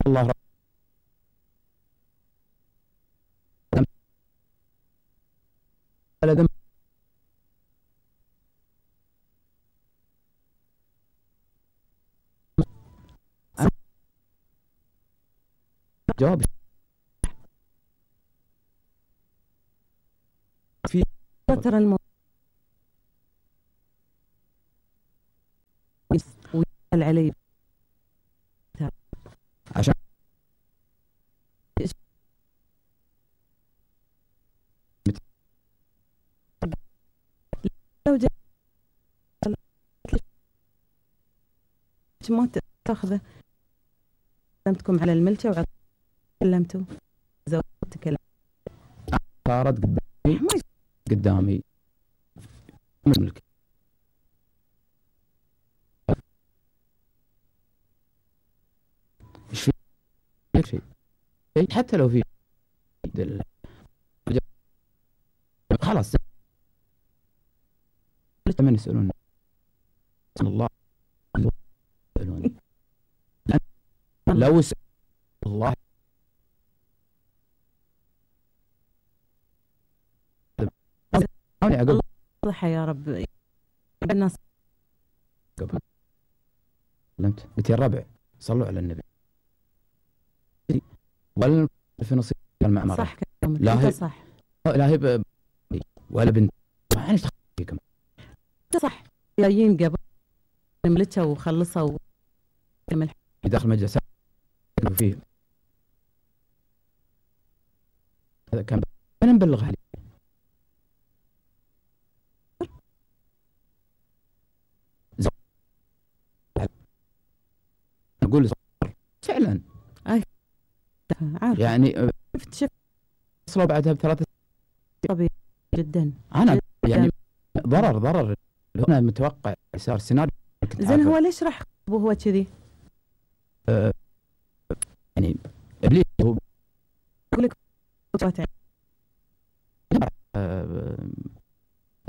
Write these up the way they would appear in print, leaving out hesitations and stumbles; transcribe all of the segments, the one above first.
الله رب ولا ذنب جواب في ترى الموضوع ويسأل علي عشان لو جاء ما تاخذه كلمتكم على الملكة وكلمتوا زوجتك كلام صارت قدامي ملك ايش في شيء حتى لو في خلاص من يسألون الله يسألوني لو سأل الله أنا أقول صحة يا رب الناس قبل قلت يا الربع صلوا على النبي ولا في نصيب المعمرة صح لا هي صح لا هي ولا بنت ما ايش فيكم صح جايين قبل ملتها وخلصوا داخل مجلس فيه هذا كان انا مبلغ عليه اقول فعلا عارف يعني شفت وصلوا بعدها بثلاثة طبيعي جدا انا يعني ضرر هنا متوقع صار سيناريو زين هو ليش راح وهو كذي؟ يعني ابليس هو يقول لك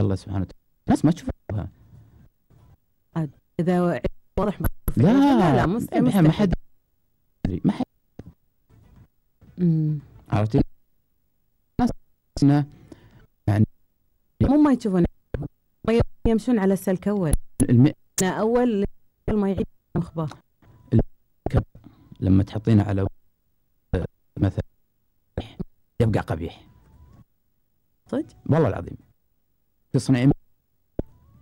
الله سبحانه وتعالى الناس ما تشوفها اذا واضح لا مستحيل ما حد عرفتي الناس يعني مو ما يشوفون يمشون على السلك اول اول ما يعيد مخبار لما تحطينه على مثلا يبقى قبيح صدق والله العظيم تصنعي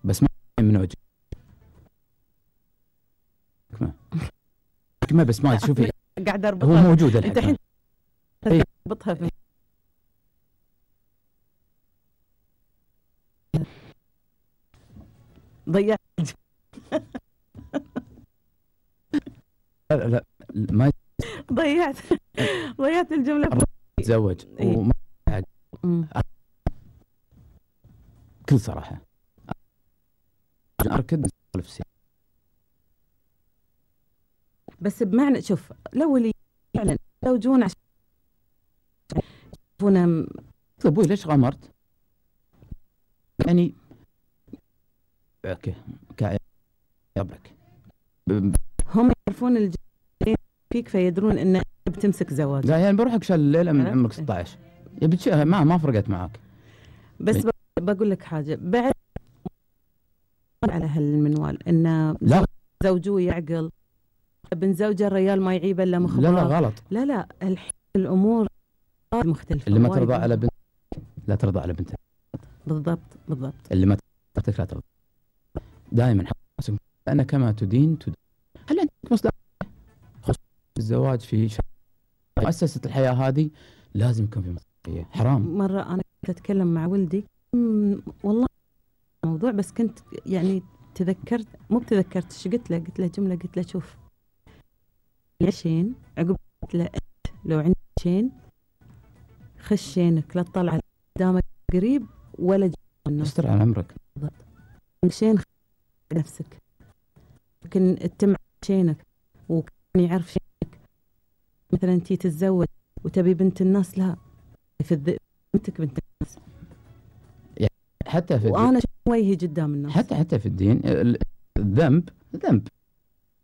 بس ما من وجه ما بس ما تشوفي قاعد اربطها هو موجود انت الحين تربطها في ضيعت لا ما ضيعت الجملة تزوج وما بكل صراحة أركض نفسي بس بمعنى شوف لو اللي فعلا لو جون عشان يشوفونا أبوي ليش غامرت؟ يعني اوكي يبرك هم يعرفون الجنين فيك فيدرون ان بتمسك زواج لا يعني بروحك شال الليله من عمرك 16 يبي ما فرقت معك بس بقول لك حاجه بعد على هالمنوال ان لا زوجوه يعقل ابن زوجه الرجال ما يعيب الا مخبار لا غلط لا الحين الامور مختلفه اللي ما ترضى على بنت لا ترضى على بنتك بالضبط اللي ما ترضى لا ترضى دائما حسن أنا كما تدين هل عندك مصدر خصوصا الزواج في مؤسسة الحياة هذه لازم يكون في مصداقية حرام مرة أنا كنت أتكلم مع ولدي والله موضوع بس كنت يعني تذكرت مو بتذكرت ايش قلت له جملة قلت له شوف عشين عقب قلت له لو عندك شين خش شينك لا تطلع قدامك قريب ولا استر على عمرك شين نفسك ممكن تتم شينك وكان يعرف شينك مثلا انتي تتزوج وتبي بنت الناس لا في بنتك بنت الناس يعني حتى في وانا وجهي قدام الناس حتى في الدين الذنب